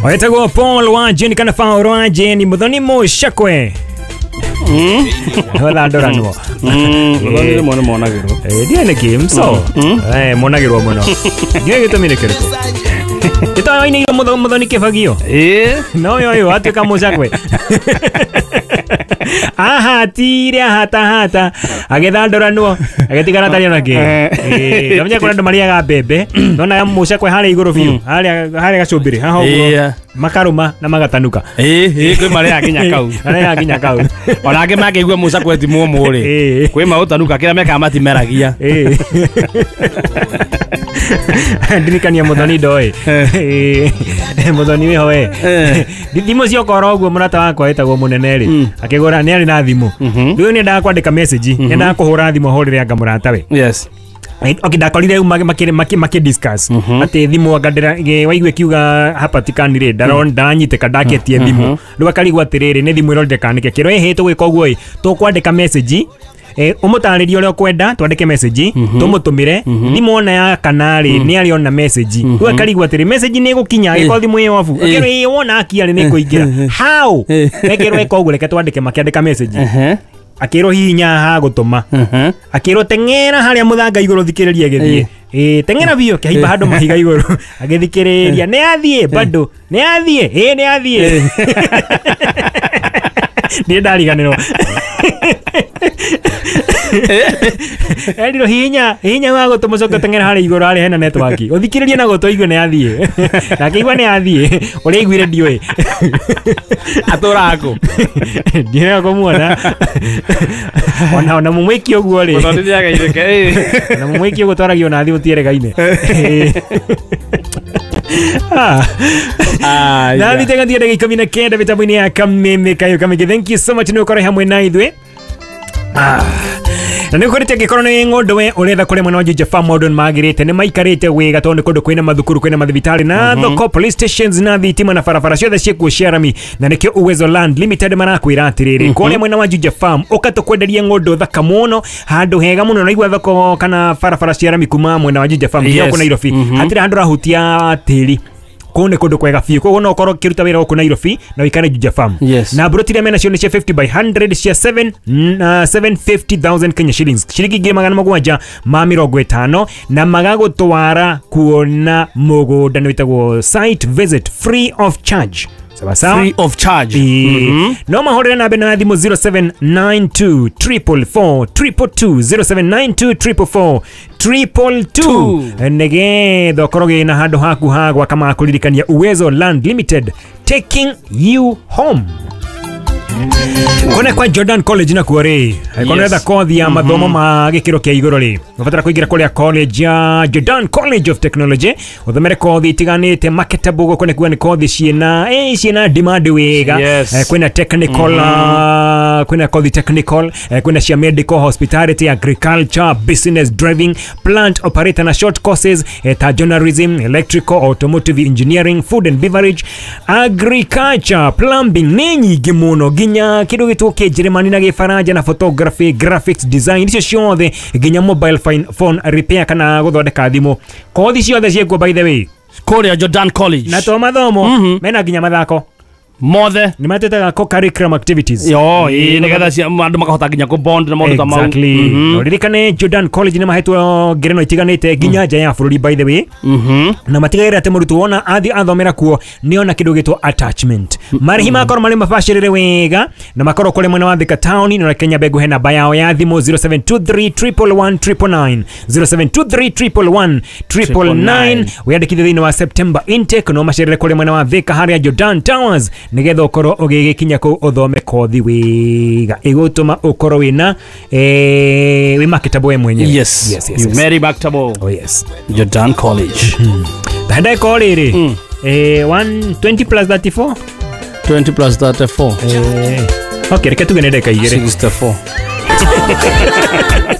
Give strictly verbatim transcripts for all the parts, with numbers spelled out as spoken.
Wetagwo Paul wa Jane kana Paul wa Jane muthoni mucakwe. Mm. Wala ndoranwo. Mm, muthoni rĩmwe nĩ monagĩrwo. Eh, ndiĩ nĩkĩ mso. Eh, monagĩrwo mũno. Ndiĩ gĩtũmi nĩ kĩrĩkũ? Ĩtoĩ muthoni muthoni kĩbagio. Eh, no yo yo atuĩka mucakwe. Ahatire ahatahata agĩthandoranwo agĩtigana atarĩ ona kĩ. Eh, ndamenya kũrĩ andũ marĩaga mbembe nona mucakwe harĩa igũrũ biũ harĩa harĩa gacumbĩrĩ haha ũguo makarũma na magatanuka. Eh, eh, kwĩ marĩaga nginya kau. Marĩaga nginya kau. Ona angĩ mangĩigua mucakwe ti mũmũ rĩ, kwĩ maũtanuka kĩrĩa mekaga matimeragia. Eh. Ndirikania muthoni ndoĩ. Muthoni wĩho we. Thimũ ciokora ũguo mũrata wakwa wĩtagwo mũnene rĩ, akĩgũra nĩ arĩ na thimũ. Rĩu nĩ endaga kwandĩka message, nĩ endaga kũhũra thimũ ahũrĩre anga mũratawe. Yes. Okay, ndakorire makĩ makĩ makĩ discuss atĩ thimũ anga ndĩra waigua kiuga hapatikani rĩ ndaron ndanyitĩka ndaketie thimũ. Rĩu akarigwo atĩrĩrĩ nĩ thimũ ĩrorire kana nĩkĩ kĩro ĩhĩ tũgwĩka ũguo ĩ tũkwandĩka message eh umutarĩrie ũrĩa ũkwenda twandĩke message tũmũtũmĩre thimũ ona ya kana rĩ nĩ arĩona message. Rĩu akarigwo atĩrĩ message nĩ ĩgũkinya agĩkorwo thimũ ĩ off akĩrwo ĩ wona akia rĩ nĩ ĩkũingĩra how ekĩrwo ĩka ũguo reke twandĩke makĩandĩka message akĩrwo hihinya ha gũtũma akĩrwo teng'era harĩa mũthanga igũrũ thikĩrĩria gĩthiĩ ĩ teng'era biũ kĩhaimba handũ mahiga igũrũ agĩthikĩrĩria nĩ athiĩ bado nĩ athiĩ ĩ nĩ athiĩ nĩ ndariganĩrwo. Eriro hihinya hihinya wa gũtũma ũcoke teng'era harĩa igũrũ harĩa hena network ũthikĩrĩrie na gũtũ igue nĩ athiĩ na akĩigua nĩ athiĩ ũrĩa aiguire ndiũĩ atũraga kũ ndiũĩ kũmuona ona ona mũmwĩki ũguo rĩ mũthoni nĩageithĩke ona mũmwĩki ũguo twaragio na thimũ tieregaine. Ah, na thite ngathie ndagĩka ikũmi na kenda mĩtambo-inĩ ya Kameme Kayo Kamĩngĩ. Thank you so much nĩ ũkorwo hamwe na ithuĩ. Ah. Na nĩ ũkorĩte angĩkorwo nĩ ng'ondo we ũretha kũrĩa mwena wa Juja Farm maũndũ nĩ magĩrĩte nĩ maikarĩte wega tondũ nĩ kũndũ kwĩna mathukuru kwĩna mathibitarĩ na thoko police stations na thitima na barabara ciothe ciĩkuo cia rami na nĩkĩo Uwezo Land Limited marakwĩra atĩrĩrĩ kũrĩa mwena wa Juja Farm ũka tũkwenderie ng'ondo thaka mũno handũ hega mũno na igua thoko kana barabara cia rami kuma mwena wa Juja Farm nginya gũkũ Nairobi hatirĩ handũ ũrahutia tĩri kũu nĩ kũndũ kwega biũ koguo no ũkorwo ũkĩruta wĩra gũkũ Nairobi na ũikare Juja Farm. Yes. Na mburoti iria mena cio nĩ cia fifty by hundred cia seven seven fifty thousand Kenya shillings ciringi ngiri magana mũgwanja ma mĩrongo ĩtano na magagũtwara kuona mũgũnda nĩ wĩtagwo site visit free of charge. Sawa sawa? Free of charge. Mm-hmm. No mahũrĩre namba ĩno ya thimũ zero seven nine two triple four triple two zero seven nine two triple four triple two nĩgetha ũkorwo wĩna handũ haku ha gwaka ma kũririkania Uwezo Land Limited taking you home. Kona kwa Jordan College na kuo rĩ angĩkorwo ũretha kothi ya mathomo ma gĩkĩro kĩa igũrũ rĩ ũbatara kũingĩra kũrĩa college ya Jordan College of Technology ũthomere kothi itiganĩte marketable gũkũ nĩ kuga nĩ kothi ciĩna eh ciĩna demand wega. Yes. Kwĩna technical kwĩna kothi technical kwĩna cia medical hospitality agriculture business driving plant operator na short courses ta journalism electrical automotive engineering food and beverage agriculture plumbing nĩ nyingĩ mũno nginya kĩndũ gĩtwo kĩnjĩrĩmani na gĩbaranja na photography graphics design icio ciothe nginya mobile phone repair kana gũthondeka thimũ kothi ciothe ciĩkuo by the way kũrĩa Jordan College na to mathomo mena nginya mathako mothe nĩ matetaga co-curriculum activities yo ĩ nĩgetha andũ makahota nginya kũ bond na maũndũ ta mau. Exactly. Ririkane Jordan College nĩ mahetwo ngerenwa itiganĩte nginya nja ya bũrũri by the way na matigagĩrĩra atĩ mũrutwo wona athiĩ athomera kuo nĩ ona kĩndũ gĩtwo attachment marĩhi makorwo marĩ mabacĩrĩre wega na makorwo kũrĩ mwena wa Thika town na Kenya Mbegu he namba yao ya thimũ zero seven two three triple one triple nine zero seven two three triple one triple nine wĩyandĩkithie thĩinĩ wa September intake no macerere kũrĩ mwena wa Thika harĩa Jordan Towers nĩgetha ũkorwo ũgĩgĩkinya kũu ũthome kothi wega ĩgũtũma ũkorwo wĩna eh wĩ marketable we mwenyewe. Yes. Yes, yes, you yes. Mary marketable. Oh yes. Jordan College. Ndagĩka rĩrĩ eh one twenty plus thirty-four twenty plus thirty-four eh okay reke tuge nĩ ndagĩka igĩrĩ sixty-four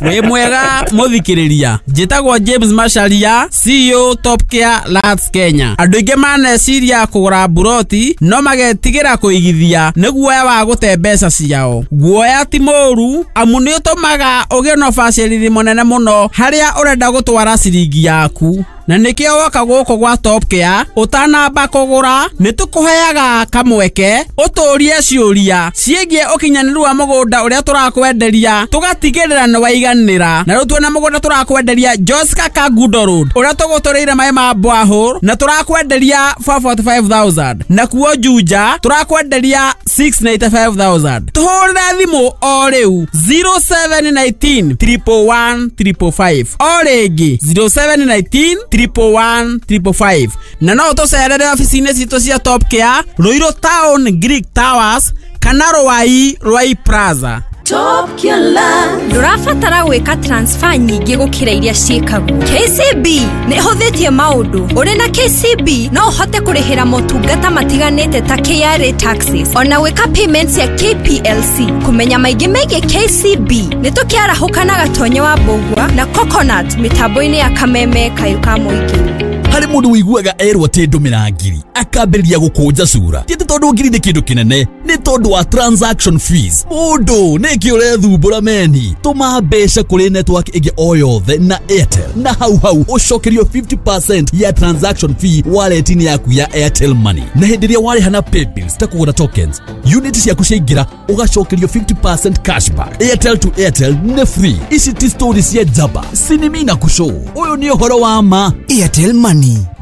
Wĩ mwega mũthikĩrĩria njĩtagwo James Macharia C E O Top Care Lands Kenya. Andũ aingĩ maneciria kũgũra mburoti no magetigĩra kũigithia nĩ guoya wa gũte mbeca ciao. Guoya ti mũũru amu nĩ ũtũmaga ũgĩe na ũbacĩrĩri mũnene mũno harĩa ũrenda gũtwara ciringi yaku. Na nĩkĩo woka gũkũ gwa Top Care ũtanamba kũgũra nĩ tũkũheaga kamweke ũtũrie ciũria ciĩgiĩ ũkinyanĩru wa mũgũnda ũrĩa tũrakwenderia tũgatigĩrĩra nĩ waiganĩra. Na rĩu tuona mũgũnda tũrakwenderia Joska Kangundo Road ũrĩa tũgũtũrĩire maĩ ma borehole na tũrakwenderia four forty five thousand, na kuo Juja tũrakwenderia six ninety five thousand. Tũhũrĩre thimũ o rĩu zero seven nineteen triple one triple five, o rĩngĩ zero seven nineteen triple one triple five. Na no ũtũcerere ofici-inĩ citũ cia Top Care Ruiru Town Greek Towers kana Ruai Ruai Plaza. Top Care Land. Ndũrabatara gwĩka transfer nyingĩ gũkĩra iria ciĩkagwo. K C B nĩ ĩhũthĩtie maũndũ. Ũrĩ na K C B no ũhote kũrĩhĩra motungata matiganĩte ta K R A taxes, ona gwĩka payments ya K P L C. Kũmenya maingĩ megiĩ K C B nĩ tũkĩarahũka na Gatonye wa Mbũgua na Coconut mĩtambo-inĩ ya Kameme Kayũ ka Mũingĩ. Harĩ mũndũ ũiguaga erwo atĩ ndũmĩra ngiri akambĩrĩria gũkũnja cura. Ti atĩ tondũ ngiri nĩ kĩndũ kĩnene, nĩ tondũ wa transaction fees. Mũndũ nĩkĩ ũrethumbũra meni? Tũma mbeca kũrĩ network ĩngĩ o yothe na Airtel, na hau hau ũcokerio fifty percent ya transaction fee wallet-inĩ yaku ya Airtel Money. Na hĩndĩ ĩrĩa warĩha na paybills ta kũgũra tokens, unit ciaku ciaingĩra ũgacokerio fifty percent cashback. Airtel to Airtel nĩ free. Ici ti story cia njamba, sinimi na kũcũ. Ũyũ nĩ ũhoro wa ma. Airtel Money.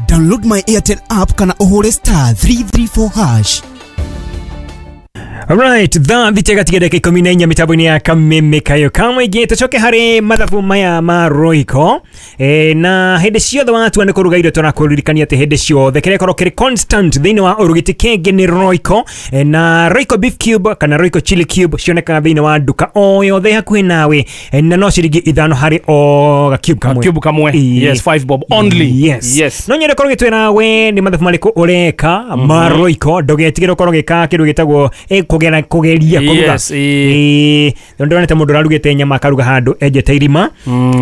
Download my Airtel app kana ũhũre star three three four hash. Alright, thaa thita gatiga dakika ikũmi na inya mĩtambo-inĩ ya Kameme Kayo ka Mũingĩ. Tũcoke harĩ mathabu maya ma Royco. E, na hĩndĩ ciothe watua nĩ kũruga irio tũrakũririkania atĩ hĩndĩ ciothe kĩrĩa gĩkorwo kĩrĩ constant thĩinĩ wa ũrugi kĩngĩ nĩ Royco. E, na Royco beef cube kana Royco chili cube cionekaga thĩinĩ wa nduka o yothe hakuhĩ nawe. E, na no ciringi ithano harĩ o ga cube kamwe. Cube kamwe. Yes, five bob only. Yes. Yes. No nyende korwo gĩtwĩra we nĩ mathabu marĩkũ ũreka ma Royco, ndũgetigĩre ũkorwo ũgĩka kĩndũ gĩtagwo kũgera kũgeria kũruga. Yes, eh ndonete mũndũ ararugĩte nyama akaruga handũ enjete irima.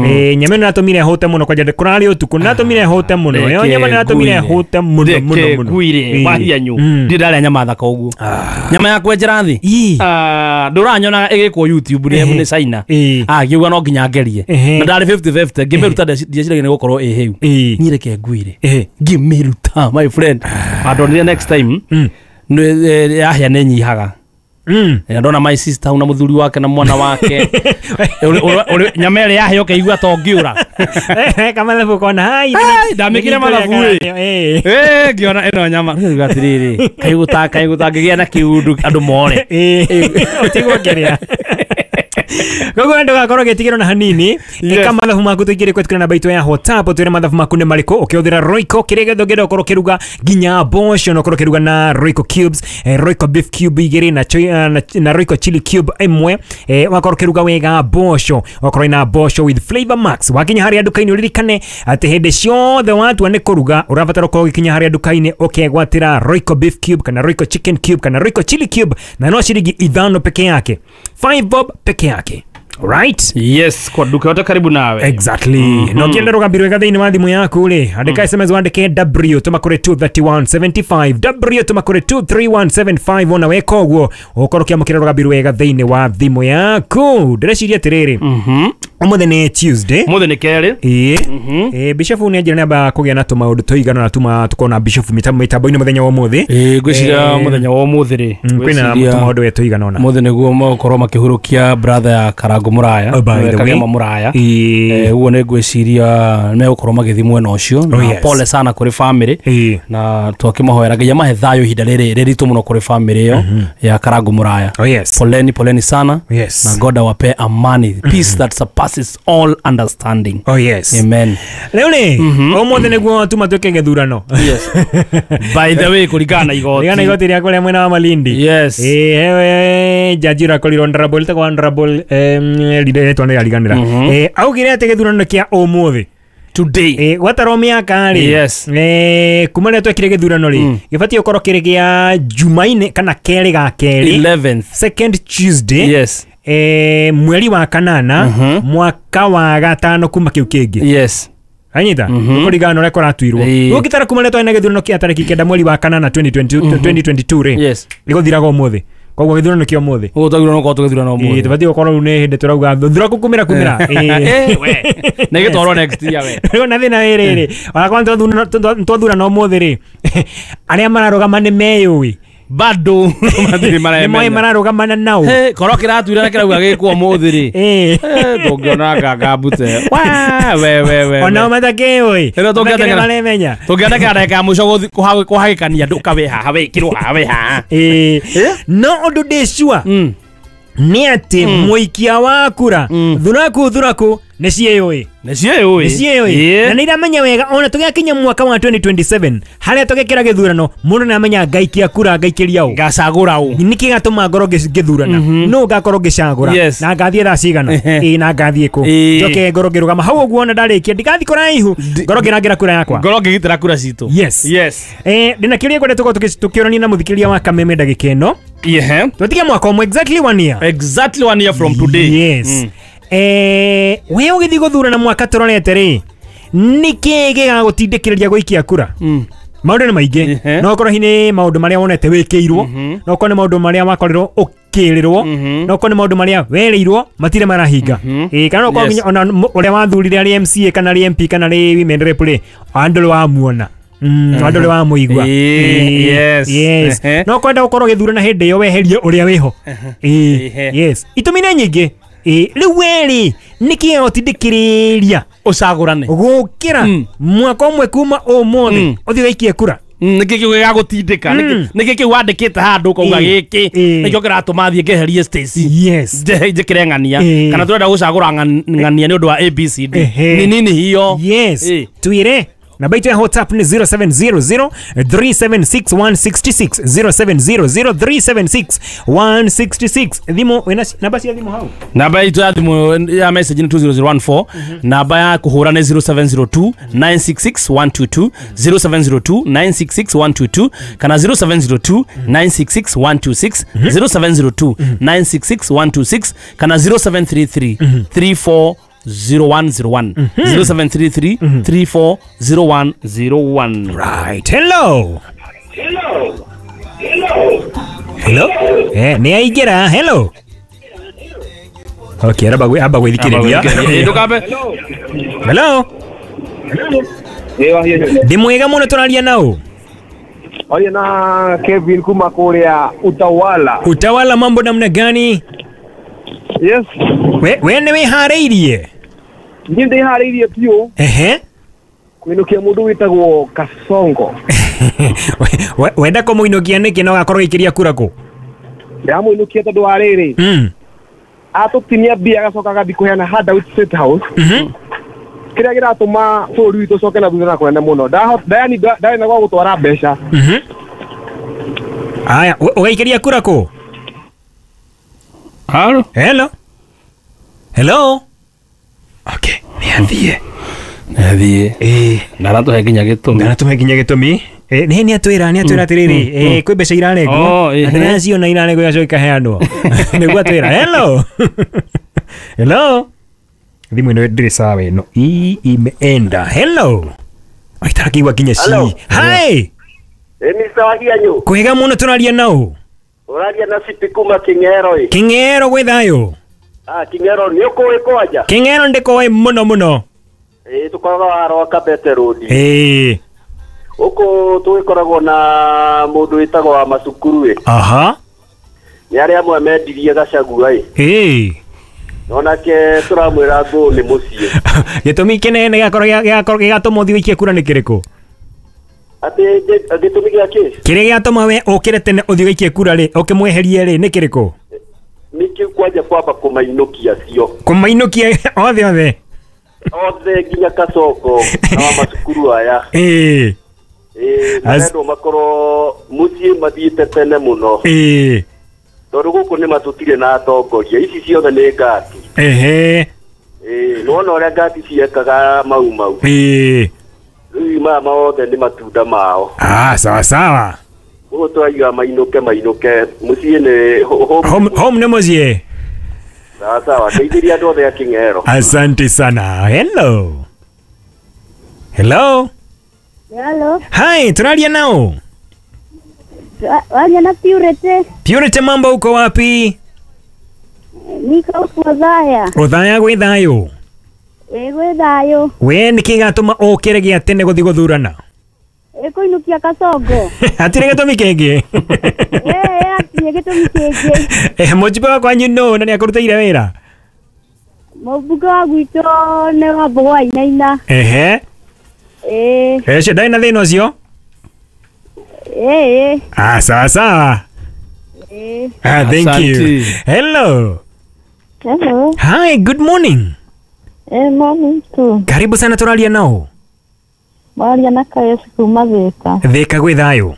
Eh nyama ĩno natũmire hũte mũno kwanja kũrarĩ ũtukũ natũmire hũte mũno. Yo nyama natũmire hũte mũno mũno mũno. Ngwire wahianyu ndi ndarĩa nyama thaka ũguo. Nyama ya kwenjera thĩ. Ah ndũranyonaga ĩgĩkwo YouTube nĩ nĩ China. Ah ngiuga no nginya ngerie. Na ndarĩ fifty fifty ngĩmĩruta ndieciragia nĩ gũkorwo ĩ hĩu. Niĩ reke ngwire. Ngĩmĩruta my friend. Andonire next time yahĩa nĩ nyihaga. Mm. Na ndona my sister na muthuri wake na mwana wake. Nyama ĩrĩa yahĩa ũkaigua ta ũngĩũra. Kamathabu kona hai. Ndamĩkire mathabu ĩ. Eh ngĩona ĩno nyama. Rĩu atĩrĩrĩ, kaigũta kaigũta ngĩgĩa na kĩundu andũ more. Ũtigwo ngĩrĩa. Koguo ndũgakorwo ũgĩtigĩrwo na hanini. Ĩka mathabu maku tũingĩre kwetukĩra namba itũ ya WhatsApp ũtwĩre mathabu maku nĩ marĩkũ ũkĩhũthĩra Royco kĩrĩa gĩothe ũngĩenda ũkorwo ũkĩruga nginya mboco na ũkorwo ũkĩruga na Royco cubes, eh, Royco beef cube igĩrĩ na, na, na Royco chili cube ĩmwe. Eh, wakorwo ũkĩruga wega mboco, wakorwo na mboco with flavor max. Wakinya harĩa nduka-inĩ ũririkane atĩ hĩndĩ ciothe watua nĩ kũruga ũrabatara ũkorwo ũgĩkinya harĩa nduka-inĩ ũkegwatĩra Royco beef cube kana Royco chicken cube kana Royco chili cube na no ciringi ithano peke yake, five bob peke yake. Right? Yes, kwa duka yote karibu nawe. Exactly. Mm -hmm. No kienda rugambiro wega thĩinĩ wa thimũ yaku rĩ, andĩka S M S wandĩke W tũma kũrĩ two three one seven five, W tũma kũrĩ two three one seven five, ona weka ũguo ũkorwo ũkĩamũkĩra rugambiro wega thĩinĩ wa thimũ yaku. Ndĩreciria atĩrĩrĩ, Mhm. ũmũthĩ nĩ Tuesday. Ũmũthĩ nĩ kerĩ. Ĩĩ. Ĩĩ, Bishop nĩ anjĩra nĩamba kũgĩa na tũmaũndũ tũigana na tuma tũkona Bishop mĩtambo-inĩ mũthenya wa ũmũthĩ. Ĩĩ, ngwĩciria mũthenya wa ũmũthĩ rĩ, kwĩna tũmaũndũ we tũigana ũna. Ũmũthĩ nĩguo megũkorwo makĩhurũkia brother ya Karango Muraya, Kagema Muraya. Ĩĩ. Ũguo nĩ ngwĩciria megũkorwo magĩthiĩ mwena ũcio. Na pole sana kũrĩ family na twakĩmahoera Ngai amahe thayũ ihinda rĩrĩ rĩritũ mũno kũrĩ family ĩyo ya Karango Muraya. Poleni, poleni sana. Yes. Na God awape amani, peace that surpasses all understanding. Oh yes. Amen. Leo ni ũmũthĩ nĩguo tuma twĩke gĩthurano. Yes. By the way, kũringana na igoti. Kũringana na igoti rĩa kũrĩa mwena wa Malindi. Yes. Eh, jaji ũrakorirwo honorable tagwo honorable em rĩtwa nĩ rĩariganĩra. Eh, augire atĩ gĩthurano kĩa ũmũthĩ today. Eh, gwatarwo mĩaka rĩ. Yes. Eh, kuma rĩrĩa twekire gĩthurano rĩ, gĩbatiĩ gũkorwo kĩrĩ gĩa Jumaine kana kerĩ ga kerĩ. eleventh. Second Tuesday. Yes. Eh, mweri wa kanana mwaka wa gatano kuma kĩu kĩngĩ. Yes. Anyita kũringana na ũrĩa kũratuirwo. Ũngĩtara kuma rĩrĩa twarĩ na gĩthurano kĩa tarĩki kenda mweri wa kanana twenty twenty-two rĩ. Yes. Gĩgũthiraga ũmũthĩ. Koguo gĩthurano kĩa ũmũthĩ. Ũguo twagĩrĩirwo gũkorwo tũgĩthurana ũmũthĩ. Ĩĩ tũbatiĩ gũkorwo rĩu nĩ hĩndĩ tũrauga thuraku kumĩra kumĩra. Ĩĩ we. Na ĩgĩtwarwo next year we. Rĩu na thĩna wĩ rĩrĩ, onakorwo nĩ twathurana ũmũthĩ rĩ, arĩa mararũgama nĩ meyũĩ. Bado matirĩ maremenya. Nĩ moĩ mararũgamana nao. Hey, korwo kĩratuire na kĩrauga gĩkwo ũmũthĩ rĩ. Ĩĩ. Tũngĩona nganga mbute. We we we. Onao matakĩũĩ. Rĩu tũngĩateng'era maremenya. Tũngĩateng'era ndagĩka ya mũico gũthiĩ kũhagĩkania andũ ũka wĩ haha wĩkĩrwo haha wĩ haha. Ĩĩ. No ũndũ ndĩ sure nĩ atĩ mũikia wa kura thuraku thuraku nĩ ciĩyũĩ. Nĩ ciĩyũĩ. Nĩ ciĩyũĩ. Na nĩ iramenya wega ona tũgĩkinya mwaka wa twenty twenty-seven harĩa tũgĩkĩra gĩthurano mũndũ nĩ amenya ngaikia kura ngaikĩria ũ. Ngacagũra ũ. Nĩkĩ gatũma ngorwo ngĩthurana. Nũ ngakorwo ngĩcagũra. Na ngathiĩ thaa cigana. Ĩĩ na ngathiĩ kũ. Njoke ngorwo ngĩrũgama hau ũguo ona ndarĩkia ndigathiĩ kũraihu ngorwo ngĩrangĩra kura yakwa. Ngorwo ngĩgitĩra kura citũ. Yes. Yes. Eh ndĩna kĩũria ngwenda tũkorwo tũkĩũrania na mũthikĩrĩria wa Kameme ndagĩka ĩno. Yeah. Tũtige mwaka ũmwe exactly one year. Exactly one year from today. Yes. Mm. Eh, we ũgĩthiĩ gũthurana mwaka tũrorete rĩ, nĩkĩ gĩgagũtindĩkĩrĩria gũikia kura? Mm. Maũndũ nĩ maingĩ. No ũkorwo hihi nĩ maũndũ marĩa wonete wĩkĩirwo, no ũkorwo nĩ maũndũ marĩa wakorirwo ũkĩrĩrwo, no ũkorwo nĩ maũndũ marĩa werĩirwo matirĩ marahinga. Ĩĩ kana no ũkorwo nginya ona ũrĩa wathurire arĩ M C A kana arĩ M P kana arĩ women rep rĩ, andũ wamuona. Mm, andũ rĩ wamũigua. Yes. Yes. No kwenda gũkorwo gĩthurana hĩndĩ ĩyo weherie ũrĩa wĩho. Ĩĩ. Yes. Itũmi nĩ nyingĩ. Ĩĩ rĩu werĩ nĩkĩ gĩgũtindĩkĩrĩria ũcagũrane gũkĩra mwaka ũmwe kuma ũmũthĩ ũthiĩ ũgaikie kura? Nĩkĩ kĩu gĩgagũtindĩka? Nĩkĩ kĩu wandĩkĩte handũ ũkauga gĩkĩ nĩkĩo kĩratũma thiĩ ngeherie Stacy? Yes. Njĩkĩre ng'ania kana tũrenda gũcagũra ng'ania nĩ ũndũ wa A B C D. Nĩ nini hiyo? Yes. Twĩre namba itũ ya WhatsApp ni zero seven zero zero three seven six one six six, zero seven zero zero three seven six one six six. Thimũ wĩna namba cia thimũ hau? Namba itũ ya thimũ ya message ni two zero zero one four. Namba ya kũhũra nĩ zero seven zero two nine six six one two two, zero seven zero two nine six six one two two kana zero seven zero two nine six six one two six, zero seven zero two nine six six one two six kana zero seven three three three four zero one zero one, zero seven three three three four zero one zero one. Right. Hello. Hello. Hello. Hello. Eh, ni aingĩra. Hello. Okay, araba gwe aba gwithikiriria. Hello. Ndi mwega muno tũraria nao. Oye na Kevin kuma kuria Utawala. Utawala mambo namna gani? Yes. We we nĩ wĩharĩirie? Niĩ ndĩharĩirie biũ. Ehe. Kũinũkia mũndũ wĩtagwo Kasongo. Wenda kũmũinũkia nĩkĩ na ũgakorwo ũgĩikĩria kura kũ? Ndĩramũinũkia tondũ wa rĩrĩ. Mm. Atũtinia mbia agacoka agathiĩ kũheana handout State House. Mhm. Kĩrĩa kĩratũma bũrũri witũ ũcoke na thutha na kũnene mũno. Ndani ndarĩ na gwa gũtwara mbeca. Mhm. Aya, ũgaikĩria kura kũ? Hello. Hello. Hello. Okay, nĩ athiĩ. Nĩ athiĩ. Ĩĩ, ndaratũhe nginya gĩtũmi. Ndaratũhe nginya gĩtũmi. Eh, nĩ nĩ atwĩra, nĩ atwĩra atĩrĩrĩ, eh kwĩ mbeca irarengwo. Na ndĩraciona irarengwo igacoka ikaheanwo. Nĩguo atwĩra. Hello. Hello. Thimũ ĩno ndĩrĩ sawa ĩno. Ii imeenda. Hello. Aitarakiwa nginya ci. Hi. Ĩ Mister Wahianyu. Kwega mũno tũraria nao. Ũraria na City kuma King'ero ĩ. King'ero gwĩ thayũ. Ah, King'ero nĩ ũkũĩ kwanja? King'ero ndĩkũĩ mũno mũno. Ĩĩ tũkoragwo harwa Kabete Road. Ĩĩ. Gũkũ tũgĩkoragwo na mũndũ wĩtagwo wa macukuru ĩ. Aha. Nĩ arĩa amwe mendirie Gachagua ĩ. Ĩĩ. Onake tũramwĩra ngũ nĩ mũciĩ. Gĩtũmi kĩnene gĩgakorwo gĩgakorwo gĩgatũma ũthiĩ ũikie kura nĩ kĩrĩkũ? Atĩ gĩtũmi gĩa kĩ? Kĩrĩa gĩatũma we ũkĩre tene ũthiĩ ũikie kura rĩ, ũkĩmweherie rĩ, nĩ kĩrĩkũ? Nĩkĩu kwanja kwamba kũmainũkia cio. Kũmainũkia othe othe? Othe nginya Kasongo na wa macukuru aya. Ĩĩ. Ĩĩ, marendwo makorwo mũciĩ mathiĩte tene mũno. Ĩĩ. Tondũ gũkũ nĩ matũtirĩ na atongoria, ici ciothe nĩ ngati. Ehe. Ĩĩ, nĩwona ũrĩa ngati ciekaga mau mau. Ĩĩ. Rĩu maya mothe nĩ matunda mao. Ah, sawa sawa. Ũguo tũraiga mainũke mainũke mũciĩ nĩ home, home nĩ mũciĩ. Sawa sawa, ndeithirie andũ othe a King'ero. Asante sana. Hello. Hello. Hello. Hi, tũraria nao? Walia na Purity. Purity, mambo uko wapi? Niko Othaya. Othaya gwĩ thayũ? Ĩ gwĩ thayũ. We nĩkĩ gĩatũma ũkĩre gĩa tene gũthiĩ gũthurana? Ĩ kũinũkia Kasongo. Hatirĩ gĩtũmi kĩngĩ? Ĩ hatirĩ gĩtũmi kĩngĩ. Eh, mũjumbe wa kwanyu nũ na nĩakũrutĩire wĩra? Mũmbunge wa gwitũ nĩ Wambũgũ wa Wainaina. Ehe. Ĩ. Ũcio ndarĩ na thĩna ũcio? Ĩ. Ah, sawa sawa. Ĩ. Ah, thank you. Hello. Hello. Hi, good morning. Eh, morning too. Karibu sana, tũraria nao. Mwaria na Kayesi kuma Thika. Thika gwĩ thayũ?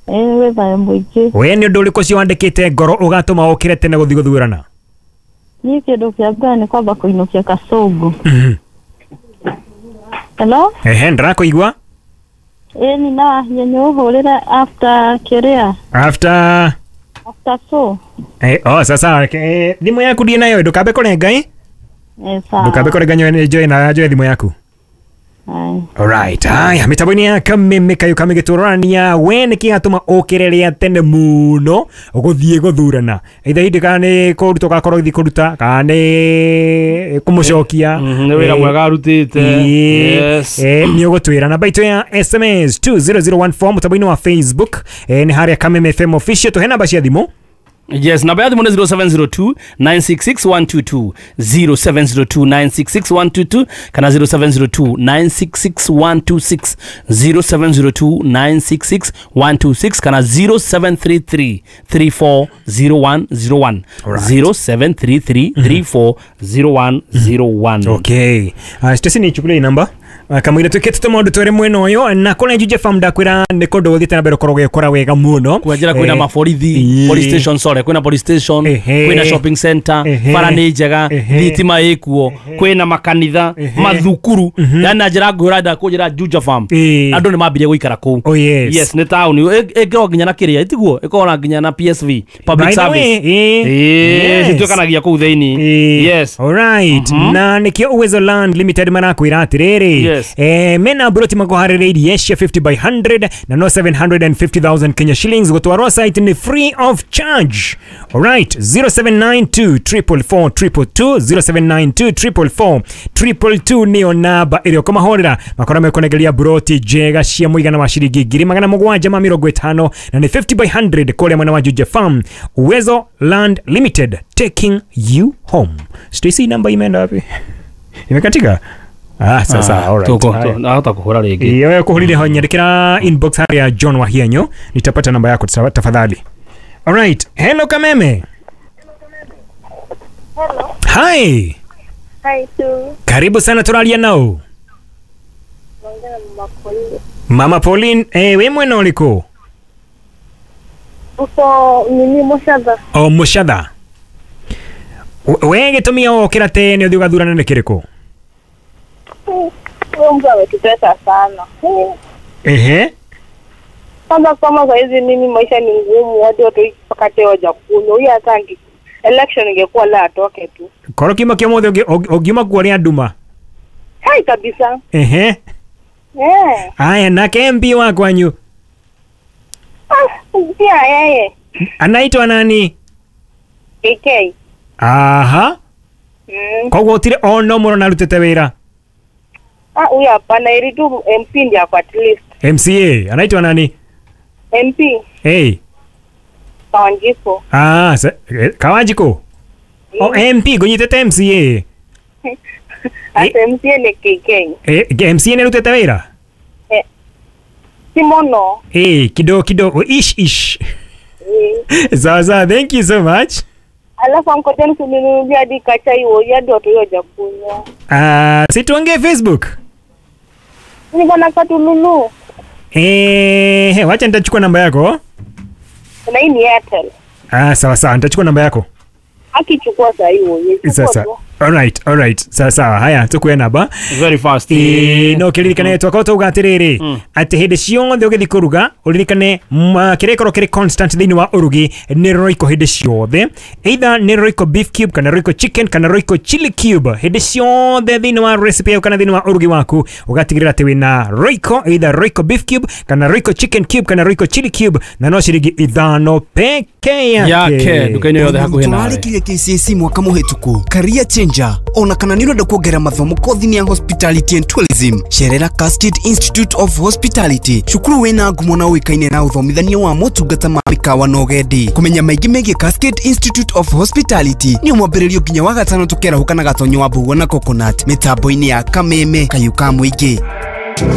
Ĩ gwĩ thayũ mũingĩ. We nĩ ũndũ ũrĩkũ ũcio wandĩkĩte ngoro ũgatũma ũkĩre tene gũthiĩ gũthurana? Niĩ kĩndũ kĩa mbere nĩ kwamba kũinũkia Kasongo. Mhm. Hello? Ehe, ndĩrakũigua. Ĩ ni na hinya ũhũrĩre after kĩrĩa? After After so. Eh, oh, sasa eh, thimũ yaku ndiĩ nayo, ndũkambe kũrenga ĩ? Eh, sawa. Ndũkambe kũrenga njoe na njoe thimũ yaku. Alright, haya mitambo-inĩ ya Kameme kayo kamĩgĩtũrania we nĩkĩ gatũma ũkĩre rĩa tene mũno gũthiĩ gũthurana either hĩndĩ kana nĩ kũruta ũgakorwo ũgĩthiĩ kũruta kana nĩ kũmũcokia nĩ wĩra mwega arutĩte. Yes, nĩ ũgũtwĩra namba itũ ya S M S two zero zero one four mũtambo-inĩ wa Facebook nĩ harĩa Kameme F M official tũhe namba cia thimũ. Yes, namba ya thimũ nĩ zero seven zero two nine six six one two two, zero seven zero two nine six six one two two kana zero seven zero two nine six six one two six, zero seven zero two nine six six one two six kana zero seven three three three four zero one zero one, zero seven three three three four zero one zero one. Okay. Uh, Stacy ni chukulia namba kamwira twikite maundu twere mwena uyu na kona Juja Farm ndakwira ni kundu guthite na mbere ukorwo ugikora wega muno kwanjira kwina maborithi, police station, sorry, kwina police station, kwina shopping center, bara ni njega, thitima ikuo, kwina makanitha, mathukuru, yani na njira ngwira nda kunjira Juja Farm andu ni mambirie guikara kuu. Oh yes. Yes, ni town ĩngĩrwo nginya na kiria itiguo ĩkorwo nginya na P S V, public service, eh cituĩkanagia kuu thiini. Yes. All right. Na nikio Uwezo Land Limited marakwira atiriri. Yes. Eh, mena broti makuharĩrĩirie cia fifty by hundred na no seven hundred fifty thousand Kenya shillings gũtwarwo site ni free of charge. Alright, zero seven nine two triple four triple two, zero seven nine two triple four triple two nĩyo namba ĩrĩa ũkũmahũrĩra makora mekũnengeria broti njega cia mũigana wa ciringi ngiri magana mũgwanja ma mĩrongo ĩtano na nĩ fifty by hundred kũrĩa mwena wa Juja Farm. Uwezo Land Limited, taking you home. Stacy, namba imeenda wapi? Imekatika? Ah, sasa, all right. Tuko hata kuhura rĩngĩ. Iyo kuhurire ho nyandikira inbox ya John Wahianyo, nitapata namba yako tafadhali. All right. Hello Kameme. Hello. Hi. Hi tu. Karibu sana, turalia nao. Mama Pauline. Mama Pauline, eh we mwena uliko? Uko nini Mushadha. Oh, Mushadha. We gĩtũmi ũkĩra tene ũthiĩ ũgathurana nĩ kĩrĩkũ? Huyo mtu ametutesa sana. Ehe. Kwanza kama saa hizi mimi maisha ni ngumu, watu watu mpaka wajakunywa. Huyu hata election ingekuwa la atoke tu. Koro kima kĩa mothe ũngiuma kuo rĩa nduma. Hai kabisa. Ehe. Eh. Aya, nake M P wa kwanyu. Ah, pia yeye. Anaitwa nani? K K. Aha. Mm. Koguo gũtirĩ ono mũno narutĩte wĩra. Ah, huyu hapana, ili tu M P ndiye kwa at least. M C A anaitwa nani? M P. Hey. Kawanjiko. Ah, se, Kawanjiko. Mm. Oh, M P gunyitete M C A. Ate M C A ni K K. Eh, M C A ni rutete wĩra? Eh. Si mono. Eh, kidogo kidogo, ish ish. Eh. Sawa, thank you so much. Alafu mkoteni kuninunulia hadi kachai wo hadi watu hawajakunywa. Ah, si tuongee Facebook. Niko na katululu. Eh, wacha nitachukua namba yako. Na hii ni Airtel. Ah, sawa sawa, nitachukua namba yako. Akichukua saa hiyo. Sasa. Alright, alright. Sawa sawa. Haya, tukuye namba. Very fast. Ĩĩ, no kĩririkane twakorwo twauga atĩrĩrĩ atĩ hĩndĩ ciothe ũgĩthiĩ kũruga ũririkane kĩrĩa gĩkorwo kĩrĩ constant thĩinĩ wa ũrugi nĩ Royco hĩndĩ ciothe, either nĩ Royco beef cube kana Royco chicken kana Royco chili cube. Hĩndĩ ciothe thĩinĩ wa recipe yaku kana thĩinĩ wa ũrugi waku ũgatigĩrĩra atĩ wĩna Royco, either Royco beef cube kana Royco chicken cube kana Royco chili cube, na no ciringi ithano peke yake Yake nduka-inĩ yothe hakuhĩ nawe. Tũrarĩkirie K C S E mwaka mũhĩtũku career changer ona kana nĩ ũrenda kuongerera mathomo kothi-inĩ ya hospitality and tourism, cerera Cascade Institute of Hospitality, cukuru wĩna ngumo na ũĩkaine na ũthomithania wa motungata ma mĩkawa na ũgendi. Kũmenya maingĩ megiĩ Cascade Institute of Hospitality nĩ mwambĩrĩrio nginya wa gatano tũkerahũka na gatonyo wa Mbũgua na Coconut mĩtambo-inĩ ya Kameme Kayũ ka Mũingĩ.